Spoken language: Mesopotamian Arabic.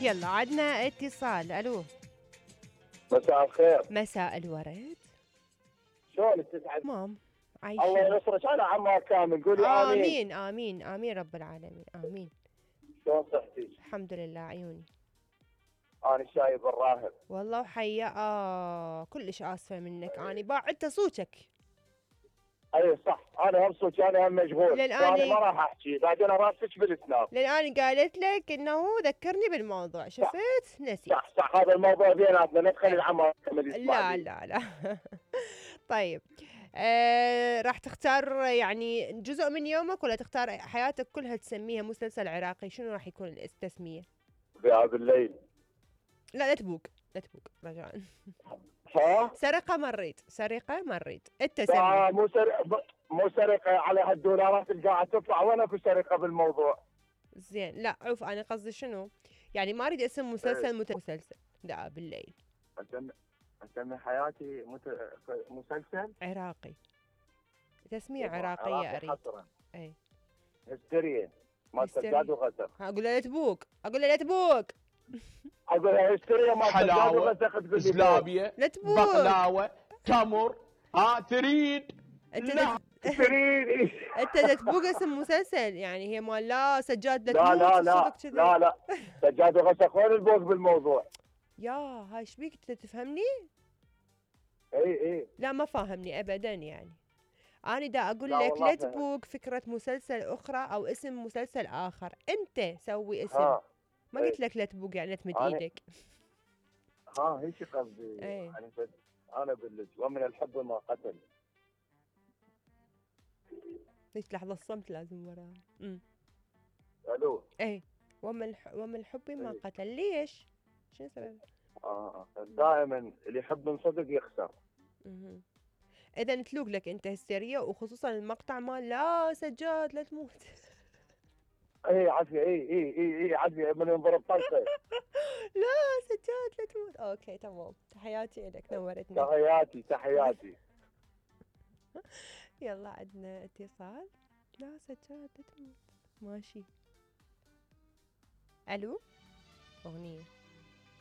يلا عدنا اتصال. الو. مساء الخير. مساء الورد. شلونك تسعد؟ مام الله عايشين. ينصرك. انا عمار كامل، قولي امين. امين امين امين رب العالمين امين. شلون صحتك؟ الحمد لله عيوني. انا شايب الراهب. والله وحيا كلش اسفه منك، اني باعدت صوتك. اي صح، انا هم صوتي، انا هم مشغول، للآن ما راح احكي، بعدين راسك بالسناب. للآن قالت لك انه ذكرني بالموضوع، شفت نسيت. صح هذا الموضوع بيناتنا، ندخل العمار كامل لا لا لا. طيب راح تختار يعني جزء من يومك ولا تختار حياتك كلها تسميها مسلسل عراقي؟ شنو راح يكون التسمية؟ ذئاب الليل. لا تبوق رجاء. ها؟ سرقة مريت انت سمي. مو سرقة على هالدولارات اللي قاعد تطلع، وين اكو سرقة بالموضوع؟ زين لا عوف، انا قصدي شنو؟ يعني ما اريد اسم مسلسل مسلسل ذئاب الليل. اسمي حياتي مسلسل عراقي، تسمية عراقية اريد. اي هستيريا ما سجاد وغسق. اقول له لا تبوق، اقول لها هستيريا ما سجاد وغسق. تقول لي زلابية، لا تبوق، بقلاوة، تمر. تريد؟ لا تريد. انت تبوق اسم مسلسل، يعني هي مال لا سجاد لا لا تموت. لا سجاد وغسق، وين البوق بالموضوع؟ يا هاي ايش بيك انت تفهمني؟ اي لا ما فاهمني ابدا. يعني انا دا اقول لا لك لا تبوق فكرة مسلسل اخرى او اسم مسلسل اخر، انت سوي اسم. ما قلت لك لا تبوق يعني لا تمد ايدك. هيك قصدي. يعني انا بلش ومن الحب ما قتل. ليش لحظة الصمت لازم وراها. الو. اي ومن الحب ما قتل. ليش؟ شنو السبب؟ دائما اللي يحب من صدق يخسر. اذا تلوق لك انت هستيريا، وخصوصا المقطع مال لا سجاد لا تموت. اي عافيه. اي عافيه من ينضرب طلقه. لا سجاد لا تموت. اوكي تمام، تحياتي لك، نورتنا. تحياتي. يلا عندنا اتصال. لا سجاد لا تموت. ماشي. الو. اغنيه.